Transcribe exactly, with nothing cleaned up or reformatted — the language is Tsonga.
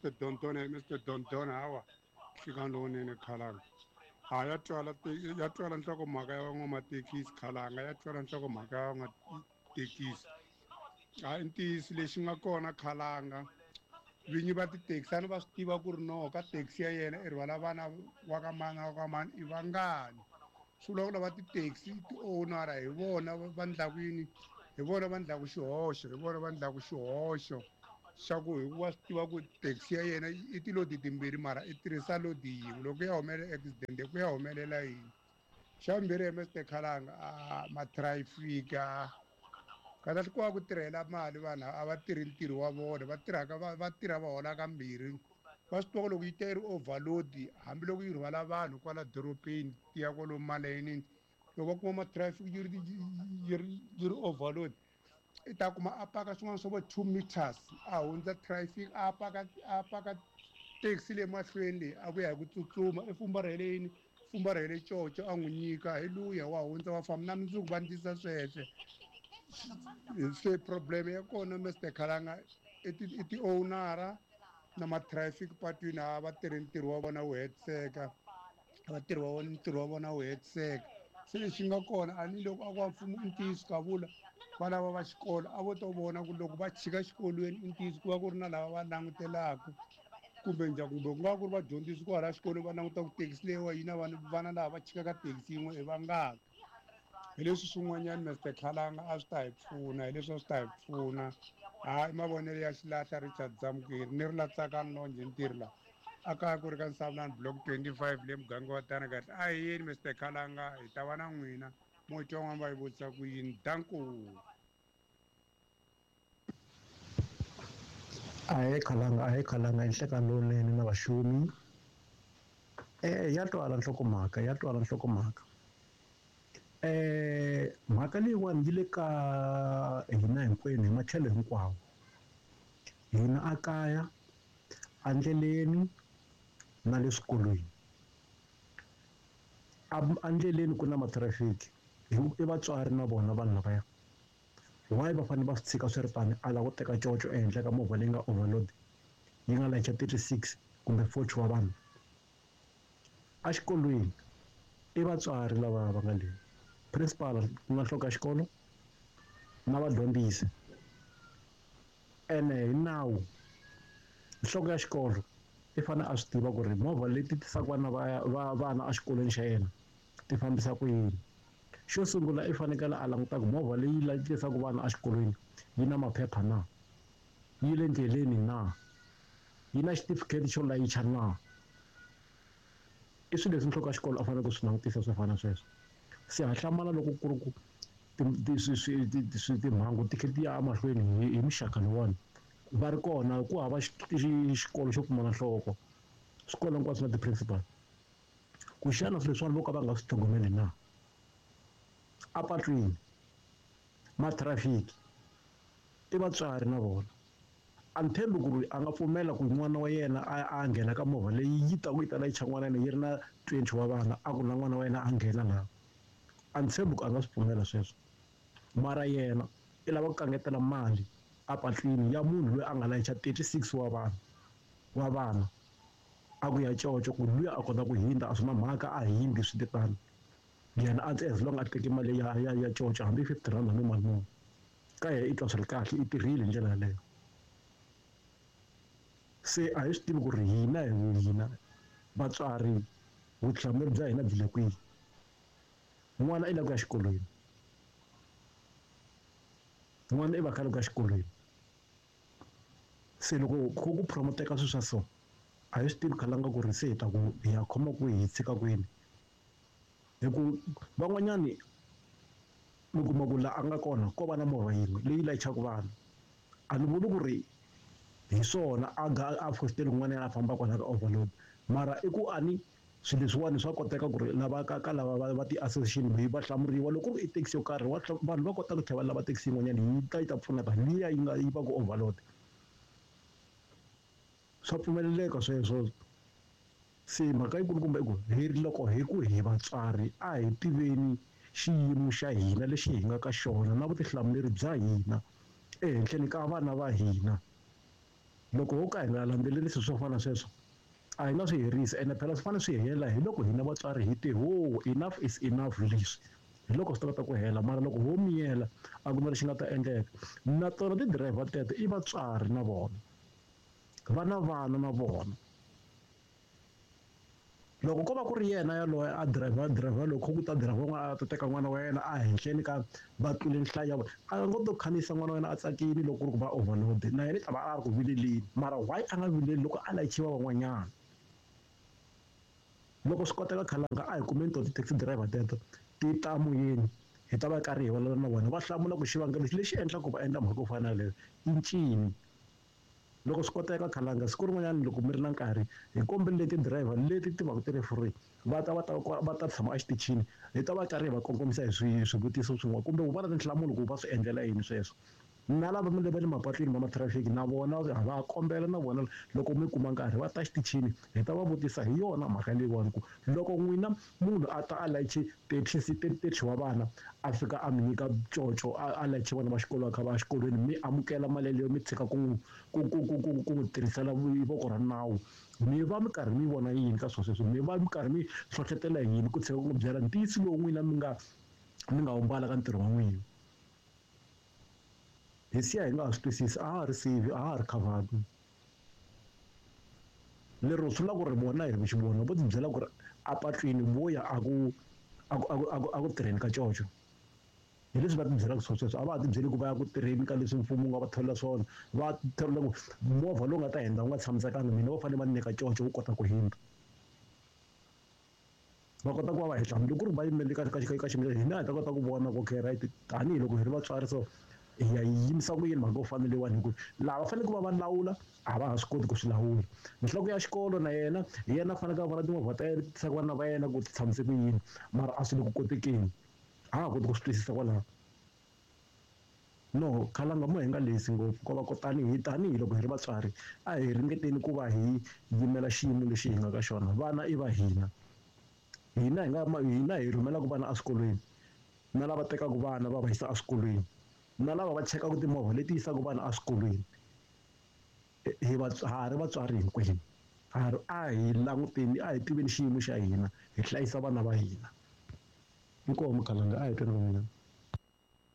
Mister Dondona, Mister Dondona hawa nhlikani lowunene Khalanga. A ya twala ya twala nhlokomhaka ya van'wamathekisi Khalanga, ya twala nhlokomhaka ya van'wamathekisi. A i ntiyiso lexi nga kona Khalanga, vinyi va tithekisi a ni va swi tiva ku ri no ka taxi ya yena i rhwala vana wa ka mani wa ka mani i vangani. Swi vula ku lava ti-taxi ti-owner hi vona va ndlaku yini, hi vona va ndlaku xihoxo, hi vona va ndlaku xihoxo xa ku hikuva swi tiva ku taxi ya yena i tilodi timbirhi mara i tirhisa lodi yin'we, loko ya humelela accident ku ya humelela yini. Xa vumbirhi Mister Khalanga, a ma-traffic kahle ku va ku tirhela mali vanhu a va tirhi ntirho wa vona, va tirhaka va tirha va hola kambirhi. Va swi tiva ku loko yi ta yi ri overload hambiloko yi rhwala vanhu kwala dorobeni ti ya kwalomu malayinini, loko va kuma ma-traffic yi ri yi ri yi ri overload i ta kuma a paka swin'wana swa vo two meters a hundza traffic, a paka a paka taxi le mahlweni leyi a vuya hi ku tsutsuma i fumbarhele yini, fumbarhele coco a n'wi nyika hi luya wa hundza wa famba na mundzuku va ndlisa sweswe. Se problem ya kona Mister Khalanga i ti i ti-owner na ma-traffic patwini a va tirhi ntirho wa vona wu hetiseka, va tirhi wa vona ntirho wa vona wu hetiseka. Se lexi nga kona a ni loko a ku wa mfumo i ntiyiso ka vula va lava va xikolo a vo to vona ku loko va chika xikolweni i ntiyiso ku va ku ri na lava va langutelaka kumbe njhani, kumbe ku nga ku ri vadyondzisi kwala xikolweni va languta ku thekisi leyiwa yi na vanhu vana lava va chikaka thekisi yin'we i vangaki. Hi leswi swin'wanyana Mister Khalanga a swi ta hi pfuna, hi leswi a swi ta hi pfuna. Hayi mavonelo ya xilahla Richard Zamukeri ni ri la Tsakani Lonje ntirho la a kaya ku ri ka Nsavulani block twenty-five le muganga wa tana kahle. A hi yeni Mister Khalanga, hi ta va na n'wina mo twa n'wana va yi vutisa ku yini. Danko. Ahee Khalanga, ahee Khalanga, i nhlekani lowunene na vaxumi. Eh ya twala nhlokomhaka, ya twala nhlokomhaka. Eh mhaka leyiwani yi le ka hina hinkwenu hi matlhelo hinkwawo. Hina a kaya, endleleni na le swikolweni. Endleleni ku na matrafiki, i vatswari na vona vanhu lavaya. Why va fanele va swi tshika swi ri tani a lava ku teka coco ehenhla ka movha leyi nga overload yi nga layicha thirty-six kumbe forty wa vanhu. Exikolweni i vatswari lava va nga le principal ku nga nhloko ya xikolo na vadyondzisi, ene hi nawu nhloko ya xikolo i fanele a swi tiva ku ri movha leti tisaka vana va va vana exikolweni xa yena ti fambisa ku yini. Xo sungula i fanekele a languta ku movha leyi tisaka vana exikolweni yi na maphepha na, yi le ndleleni na, yi na xitifiketi xo layicha na. I swilo leswi nhloko ya xikolo a fanele ku swi langutisa swo fana na sweswo. Se ha hlamala loko ku ri ku timhangu ti kha ti ya emahlweni hi muxaka lowuwani va ri kona ku hava xikolo xo pfumala nhloko, swikolo hinkwaswo na ti-principal. Ku xana swilo leswiwani vo ka va nga swi tlhogomeli na? Apatwini matrafiki i vatswari na vona. A ni tshembi ku ri a nga pfumela ku n'wana wa yena a a nghena ka movha leyi yi ta ku yi ta layicha n'wana yena yi ri na twenty wa vana a ku na n'wana wa yena a nghena laha. A ni tshembi ku a nga swi pfumela sweswo, mara yena i lava ku kangetela mali apatwini ya munhu loyi a nga layicha thirty-six wa vanhu wa vana a ku ya coco ku luya a kota ku hindza a swi na mhaka a hindi swi titano yena a as long a teke mali ya ya ya coco hambi fifty rand hambi mali muni ka yena i twa swi ri kahle i tirhile hi ndlela yaleyo. Se a hi swi tivi ku ri hina hi hina vatswari vutihlamuleri bya hina byi le kwihi. N'wana i lava ku ya xikolweni, n'wana i va kha loko ya xikolweni. Se loko ku ku promoteka swilo swa so a hi swi tivi Khalanga ku ri se hi ta ku hi ya khoma kwihi hi tshika kwini, hi ku van'wanyani mi kuma ku laha a nga kona ko va na movha yin'we leyi layichaka vanhu. A ni vuli ku ri hi swona a ga a fositeli kun'wana yena a famba kwala ka overload, mara i ku a ni swilo leswiwani swa koteka ku ri lava ka ka lava va va ti-association va hlamuriwa loko ku ri i taxi yo karhi vanhu va kota ku tlhela va lava taxi yin'wanyana yi ta yi ta pfuneta liya yi nga yi va ku overload. Swa pfumeleleka sweswo. Se mhaka yikulukumba i ku hi ri loko hi ku hi vatswari a hi tiveni xiyimo xa hina lexi hi nga ka xona na vutihlamuleri bya hina ehenhleni ka vana va hina. Loko ho ka hi nga landzelerisi swo fana sweswo a hi nga swi herisi ene phela swi fanele swi hela hi loko hina vatswari hi te ho enough is enough leswi hi loko swi ta kota ku hela mara loko ho miyela a ku na lexi nga ta endleka. Na tona ti-driver teto i vatswari na vona va na vana na vona. Loko ko va ku ri yena yaloye a driver driver loko ku ta driver n'wana a ta teka n'wana wa yena a henhleni ka va tlule nhlayo ya vona a ngo to khandziyisa n'wana wa yena a tsakile loko ku ri ku va overload na yena i ta va a ri ku vileleni mara why a nga vileli loko a layichiwa van'wanyana. Loko swi koteka khalanga a hi kumeni to ti-taxi driver teto ti ta moyeni hi ta va karhi hi vulavula na vona va hlamula ku xivangelo lexi endlaka ku va endla mhaka yo fana na leyo i ncini. Loko swi koteka khalanga siku rin'wanyana loko mi ri na nkarhi hi kombelele ti-driver leti ti va ku ti ri free va ta va ta va ta tshama exitichini hi ta va karhi hi va kongomisa hi swi swivutiso swin'wana kumbe ku va na tinhlamulo ku va swi endlela yini sweswo. Na lava va le mapatwini va matrafiki na vona va kombela na vona loko mi kuma nkarhi va ta xitichini hi ta va vutisa hi yona mhaka leyiwani ku loko n'wina munhu a ta a layiche thirty thirty wa vana a fika a mi nyika coco a layiche vana va xikolo va kha va ya xikolweni mi amukela mali yeleyo mi tshika ku n'wi ku ku ku ku ku n'wi tirhisela voko ra nawu mi va mi karhi mi vona yini ka swilo sweswo mi va mi karhi mi hlohlotela yini ku tshika ku n'wi byela ntiyiso lowu n'wina mi nga mi nga wu mbala ka ntirho wa n'wina. Hi siya hi nga ha swi twisisi a ha ri sivi a ha ri khavani lero swi vula ku ri vona hi xivona vo ti byela ku ri a patwini vo ya a ku a ku a ku a ku a ku tirheni ka coco hi leswi va ti byelaka swona sweswo a va ha ti byeli ku va ya ku tirheni ka leswi mfumo wu nga va tholela swona va tholela ku movha lowu nga ta hundza wu nga tshamisekanga mina va fanele va nyika coco wu kota ku hundza va kota ku va va hi hlamula ku ri va yimele ka ka ka ximilana hina hi ta kota ku vona ku okay right tanihiloko hi ri vatswari so hi ya yimisa ku yini mhaka yo fana leyiwani hi ku laha va fanele ku va va lawula a va ha swi koti ku swi lawula. Nhloko ya xikolo na yena hi yena a faneleke a vona timovha ta yena tisaka vana va yena ku ti tshamise ku yini mara a swi le ku kotekeni a ha koti ku swi twisisa kwalaho. No khalanga mo hi nga lehisi ngopfu ko va ku tanihi tanihiloko hi ri vatswari a hi ringeteni ku va hi yimela xiyimo lexi hi nga ka xona vana i va hina hina hi nga hina hi rhumelaka vana eswikolweni na lava tekaka vana va va yisa eswikolweni na lava va chekaka timovha leti yisaka vana eswikolweni hi ha ri vatswari hinkwenu ha ri a hi languteni a hi tiveni xiyimo xa hina hi hlayisa vana va hina. Inkomu khalanga a hi tweni van'wanyana.